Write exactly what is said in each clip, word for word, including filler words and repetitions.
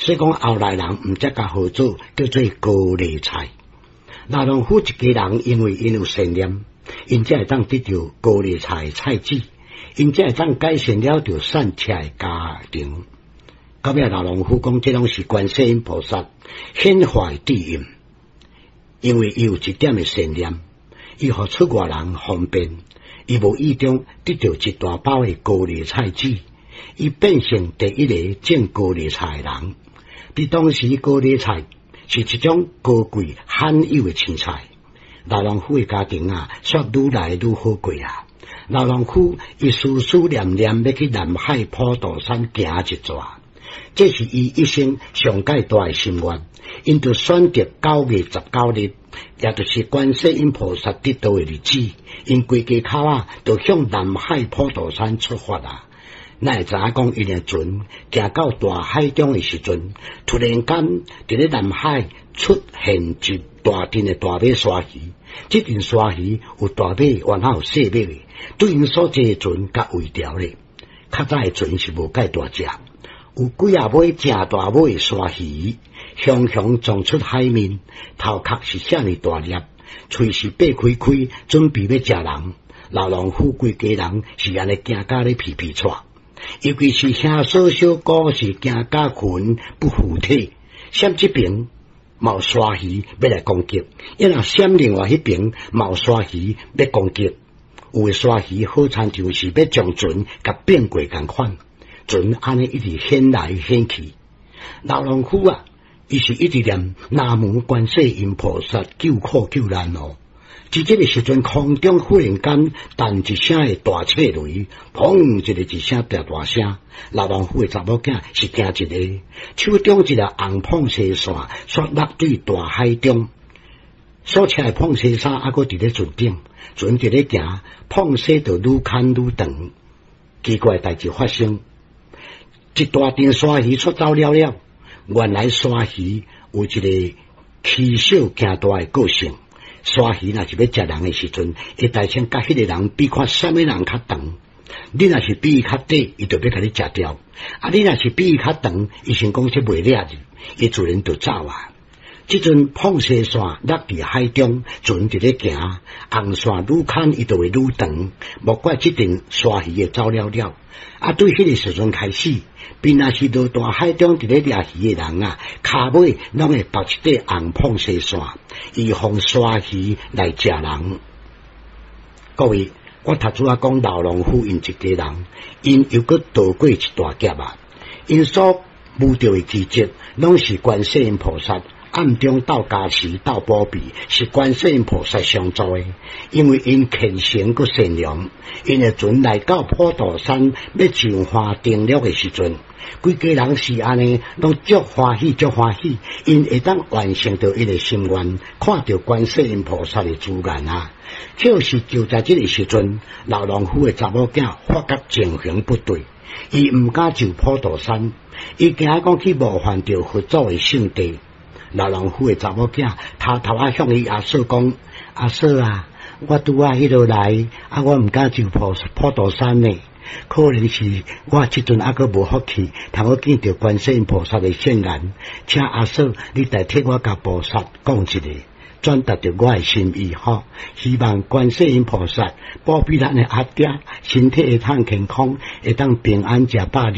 所以講後來人毋才共號做叫做高麗菜。老農夫一家人因為𪜶有善念，𪜶才會當得著高麗菜菜籽，𪜶才會當改善了著散赤的家庭。到尾老農夫講，這攏是觀世音菩薩顯化的智應，因為伊有一點的善念，伊予出外人方便，伊無意中得著一大包的高麗菜籽，伊變成第一个種高麗菜的人。佇當時，高麗菜是一種高貴罕有的青菜。老農夫的家庭啊，煞愈來愈好過啊。老農夫伊思思念念欲去南海普陀山行一逝，這是伊一生上蓋大的心願。𪜶就選擇九月十九日，也就是觀世音菩薩得道的日子，𪜶規家口仔就向南海普陀山出發啊！哪會知影講，𪜶的船行到大海中的時陣，突然間佇咧南海出現一大陣的大尾鯊魚。這陣鯊魚有大尾，還有細尾的，對𪜶所坐的船共圍牢咧。較早的船是無蓋大隻，有幾仔尾誠大尾的鯊魚，雄雄撞出海面，頭殼是遮爾大粒，喙是擘開開，準備欲食人。老農夫規家人是按呢驚甲咧皮皮掣。尤其是兄嫂小姑是驚甲魂不附體，閃這爿嘛有鯊魚欲來攻擊，伊若閃另外彼爿嘛有鯊魚欲攻擊，有的鯊魚好親像是欲將船共變過仝款，船按呢一直掀來掀去。老農夫啊，伊是一直念南無觀世音菩薩救苦救難哦。佇這个時陣，空中忽然間彈一聲的大切雷，砰！一个一聲大大聲。老農夫的查某囝是驚一个，手中一个紅膨紗線，煞落對大海中。所穿的膨紗衫猶閣佇咧船頂，船佇咧行，膨紗就愈牽愈長。奇怪代誌發生，一大陣鯊魚出走了了。原來鯊魚有一个欺小驚大的個性。鯊魚若是欲食人的時陣，會大聲共彼个人比看啥物人較長。你若是比伊較短，伊就欲共你食掉。啊，你若是比伊較長，伊想講這袂掠去，伊自然就走啊。這陣膨紗線落佇海中，船佇咧行，紅線愈牽伊就會愈長，莫怪這陣鯊魚會走了了。啊，對彼个時陣開始，邊若是落大海中佇咧掠魚的人啊，跤尾攏會縛一塊紅膨紗線，預防鯊魚來食人。各位，我頭拄仔講老農夫𪜶一家人，𪜶又閣渡過一大劫啊！𪜶所遇著的奇蹟，攏是觀世音菩薩暗中鬥加持、鬥保庇，是觀世音菩薩相助的。因為𪜶虔誠閣善良，𪜶的船來到普陀山欲上岸登陸的時陣，規家人是按呢，攏足歡喜，足歡喜，𪜶會當完成著𪜶的心願，看著觀世音菩薩的尊顏啊！可是就在這个時陣，老農夫的查某囝發覺情形不對，伊毋敢上普陀山，伊驚講去冒犯著佛祖的聖地。老農夫的查某囝偷偷仔向伊阿嫂講：阿嫂啊，我拄仔彼落來，啊，我毋敢上普普陀山呢，可能是我這陣猶閣無福氣，通好見著觀世音菩薩的聖顏，請阿嫂你代替我共菩薩講一下，轉達著我的心意吼，希望觀世音菩薩保庇咱的阿爹身體會通健康，會當平安食百二。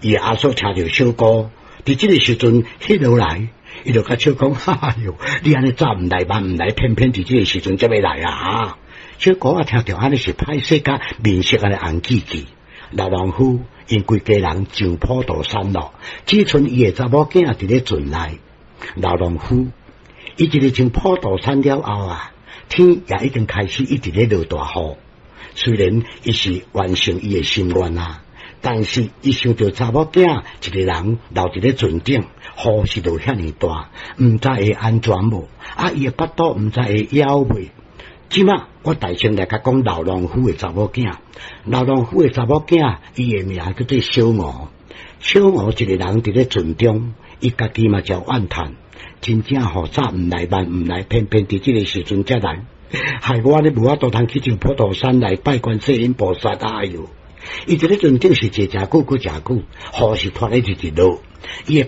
伊阿嫂聽著小姑，佇這个時陣彼落來，伊就共笑講：哈喲，你按呢早毋來晚毋來，偏偏佇這个時陣才欲來啊！小姑仔聽著按呢是歹勢甲面色按呢紅記記。老農夫𪜶規家人上普陀山咯，只賰伊的查某囝佇咧船內。老農夫伊一日上普陀山了後啊，天也已經開始一直咧落大雨。雖然伊是完成伊的心願啊，但是伊想著查某囝一个人留佇咧船頂，雨是落遐爾大，毋知會安全無？啊，伊的腹肚毋知會枵未？這馬我大聲來共講老農夫的查某囝，老農夫的查某囝，伊的名叫做小吳。小吳一个人佇咧船中，伊家己嘛誠怨嘆，真正予早毋來晚毋來，偏偏佇這个時陣才來，害我咧無法度通去上普陀山來拜觀世音菩薩。哎喲！伊佇咧船頂是坐誠久，閣誠久，雨是拖咧直直落，伊的。